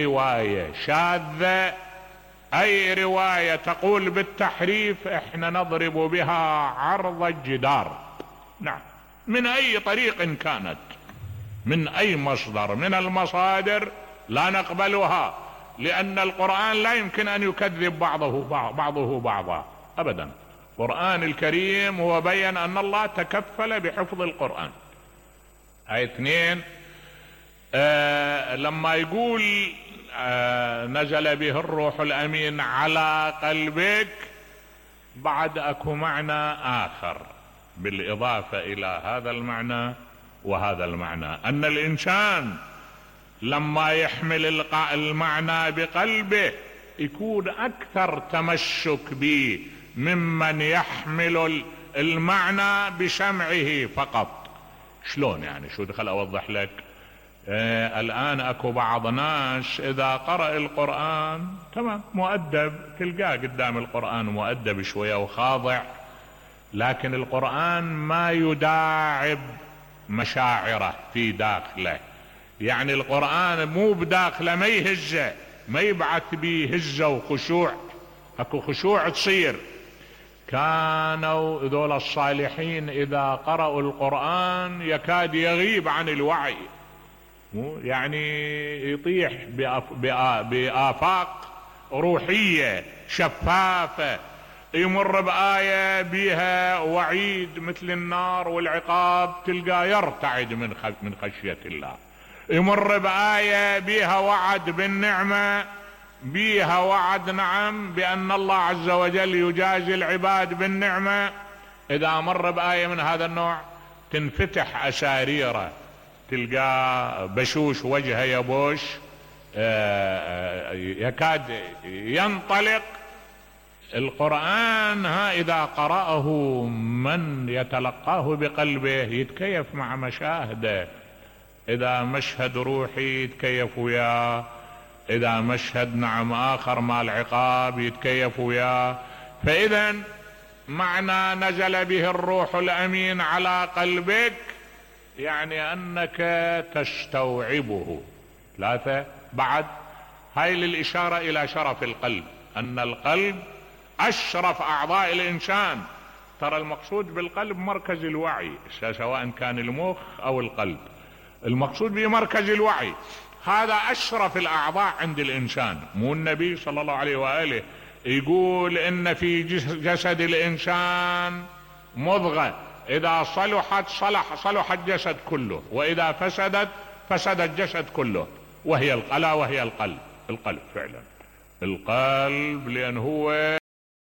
رواية شاذة، اي رواية تقول بالتحريف احنا نضرب بها عرض الجدار. نعم، من اي طريق كانت، من اي مصدر من المصادر لا نقبلها، لان القرآن لا يمكن ان يكذب بعضه بعضا ابدا. القرآن الكريم هو بين ان الله تكفل بحفظ القرآن. هاي اثنين. لما يقول نزل به الروح الامين على قلبك، بعد اكو معنى اخر بالاضافة الى هذا المعنى وهذا المعنى، ان الانسان لما يحمل المعنى بقلبه يكون اكثر تمسك به ممن يحمل المعنى بسمعه فقط. شلون يعني؟ شو دخل اوضح لك؟ الان اكو بعض ناس اذا قرأ القرآن تمام مؤدب، تلقاه قدام القرآن مؤدب شوية وخاضع، لكن القرآن ما يداعب مشاعره في داخله. يعني القرآن مو بداخله، ما يهزه، ما يبعث بيه هزة وخشوع. اكو خشوع تصير. كانوا ذول الصالحين اذا قرأوا القرآن يكاد يغيب عن الوعي، يعني يطيح بآفاق روحية شفافة. يمر بآية بها وعيد مثل النار والعقاب، تلقى يرتعد من خشية الله. يمر بآية بها وعد بالنعمة، بها وعد نعم بأن الله عز وجل يجازي العباد بالنعمة. إذا مر بآية من هذا النوع تنفتح أساريره، تلقى بشوش وجهه يبوش، يكاد ينطلق. القرآن إذا قرأه من يتلقاه بقلبه يتكيف مع مشاهده. إذا مشهد روحي يتكيف وياه، إذا مشهد نعم آخر مال عقاب يتكيف وياه. فإذا معنى نزل به الروح الأمين على قلبك يعني أنك تستوعبه. ثلاثة. بعد هاي للإشارة إلى شرف القلب، أن القلب أشرف أعضاء الإنسان. ترى المقصود بالقلب مركز الوعي، سواء كان المخ أو القلب، المقصود به مركز الوعي. هذا أشرف الأعضاء عند الإنسان. مو النبي صلى الله عليه وآله يقول إن في جسد الإنسان مضغة إذا صلحت صلح الجسد كله، وإذا فسدت فسد الجسد كله، وهي القلب. القلب فعلا، القلب، لأن هو